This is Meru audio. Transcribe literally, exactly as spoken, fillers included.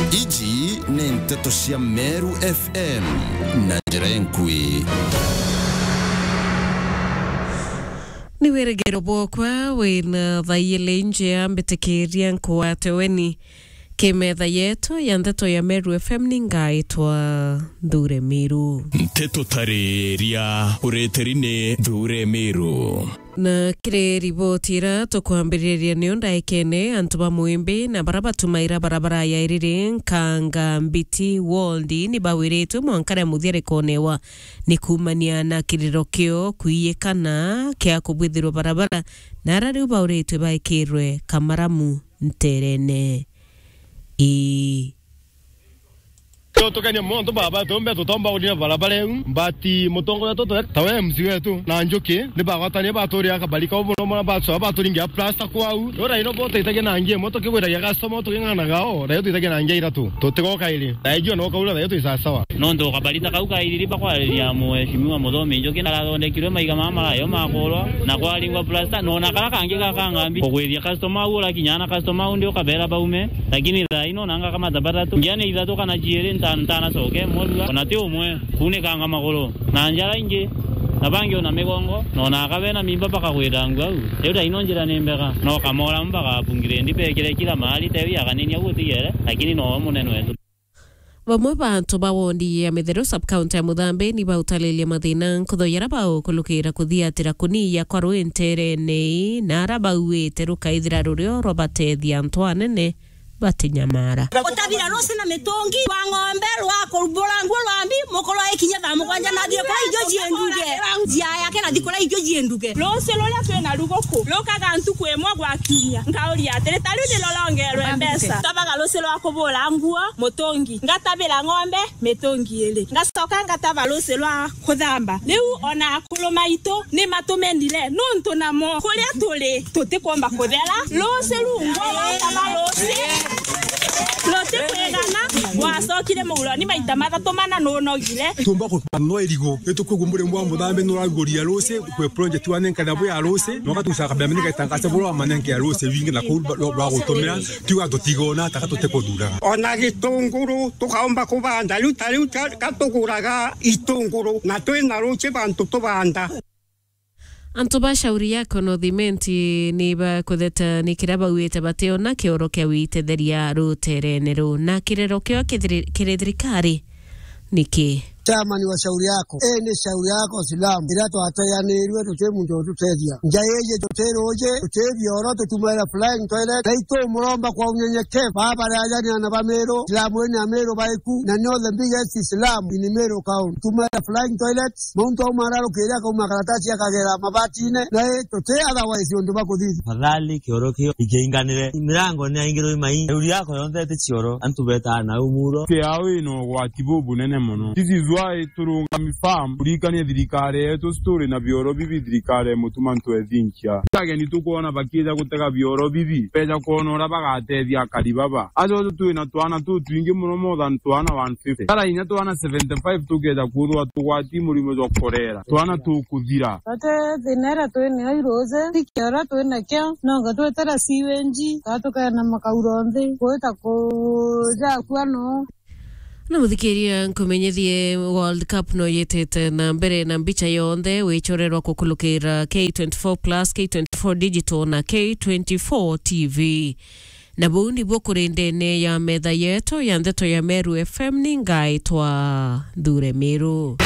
Iji ni nteto cia Meru F M na njira enkui. Ni wirigiro bwokwa wina thaiyele injia mbitikiria nkuwate weni. Ki metha yetu ya nteto ya Meru F M ni ngaitwa Nthure Miru. Nteto tariria ureteri ni Nthure Miru. Na kiri riboti ira tukwambiriria niyo ndaikene, antu ba Mwimbi na bara batumaira barabara ya iriri Nkanga Mbiti Wold ni bawiritwe mwanka ria muthia rikonewa ni kuumania na kiriro kio kuiyikana kia kubwithirwa barabara, na ara riu bauritwe baikirwe kamaramu nterene ii. Tukenia muntu baba, tumbe tutomba kuria barabara iu, but mutongoria tutu tawe M C wetu na Njuki ni bagwatania baturia kabari kau buno mona bacoa baturingia plaster kwau. Ura ino bo tuitagia na ngia imwe tukigwiragia customer tuking'anaga o, raio tuitagia na ngia iratu. Tutigoka iri. Raijua no kaura raio twi sawa sawa. Nontu kabari ta kau kairiri bakwariria Mheshimiwa Muthomi Njuki narathondekirwe maiga mama marayo makurwa na kwaringwa plaster, nona kara kangi ga Nkanga Mbiti kugwithia customer au urakinya na customer au ndi ukabera baume. Lakini thaa ino nanga kama tabata tu. Ngiane ithatu kana ciiri nta-, ntanacoke murua. Ona ti umwe. Kuunikanga maguru. Na njara ingi. Na bangi ona migongo. Na ona akabe na mimba bakagwira ngu au. Riu thaa ino njira ni mbega. No kamora mpaka apungire ndi bekire kila mahali tewi akanini au utigere. Lakini no munene wetu. Bamwe ba antu ba wondi ya Mitheru sub-county ya Muthambi ni bautaririe mathina nkutho yara baukulukira kuthiatira kuniya kwa rui nterene ii, na ara bauite rukaithira rurio rwa batethia antu anene batinyamara. Utabira rusi na mitungi rwa ng'ombe rwa kurumbura nguo rwa mbi, mukuru aikinya thaa mugwanja na athie kwa irio cienduge. Njia yake na thikura irio cienduge. Rusi ruria twina ruguku rukaga ntuku imwe gwa kiumia. Nkauria atiri, ta riu ni rurongerwe mbeca. Tabaga rusi rwa kubura nguo, mutungi. Ngatabira ng'ombe, mitungi iri. Ngacoka ngataba rusi rwa kuthamba. Riu ona akuru maitu ni matumenire nuntu namo kuria turi tutikomba kuthera. Rusi rungu rwataba rusi rutikwigana, gwacokire muguroni maita mathatu mana nunogire. Tumba kupanua irigu, itukwigua muri mwa muthambi nuraguria rusi kwe project wa nenka na bwa rusi, no gatusa kabla mene gatangaza bura wa manenke ya rusi wingi na kuu rwa gutumira. Tiuga tutigona taka tutikuthuraga. Ona gitunguru tukaomba kubanda, riu ta riu ka-, ka tuguraga itunguru, na twina ruchi bantu tubanda. Antu ba Shauri Yako North Imenti ni bakutheta ni kiria bauite bationa kioro kia witetheria ruterene ruu, na kirero kio kithiri-, kiri thirikari. Niki? Chairman wa Shauri Yako, ii ni Shauri Yako Silamu, iria twateanirue tuti muntu ututethia. Nja iji tuti ruji, tuti bioro, tutumaira flying toilet, na itumuromba kwa unyenyekevu. Baba ri ajani ana ba Miru, Silamu ini ya Miru baiku, na ni the biggest Islam in Miru County. Tumaira flying toilets, muntu auma ararukiria akauma karatasi akagera mabatine, na ii tuti otherwise undu bakuthithia. Tafadhali kioro kio ikiinganire, mirango ni yaingirwe imai, Shauri Yako yonthe iti cioro, antu betaa na umuro. Kiao ina ugwati bubunene mono. This is why turungami firm kurikania thirikari yetu, turi na bioro bibi thirikari ya Mutuma Ntwethinchia. Ageni tukwona bakija gutega bioro bibi, beja kwona uria bagatethia akari baba. Ajo twina twana tutwingi muno, more than twana one fifty. Tara inya twana seventy-five tukeja kwithirwa tugwati murimo jwa korera. Twana tukuthira. Ate thina iria twinayo iruji, ti kioro twinakio, nonga twetera siwenji, kaa tukeena makauro nthi, gwita kujakua no. Na muthikiria, nkumenyithie, World Cup no yitite na mbere, na mbicha yonthe wichorerwa kukulukira K twenty-four plus, K twenty-four Digital na K twenty-four T V. Na buu nibuo kuri ndene ya metha yetu ya ndeto ya Meru F M, ni ngaitwa Nthure Miru.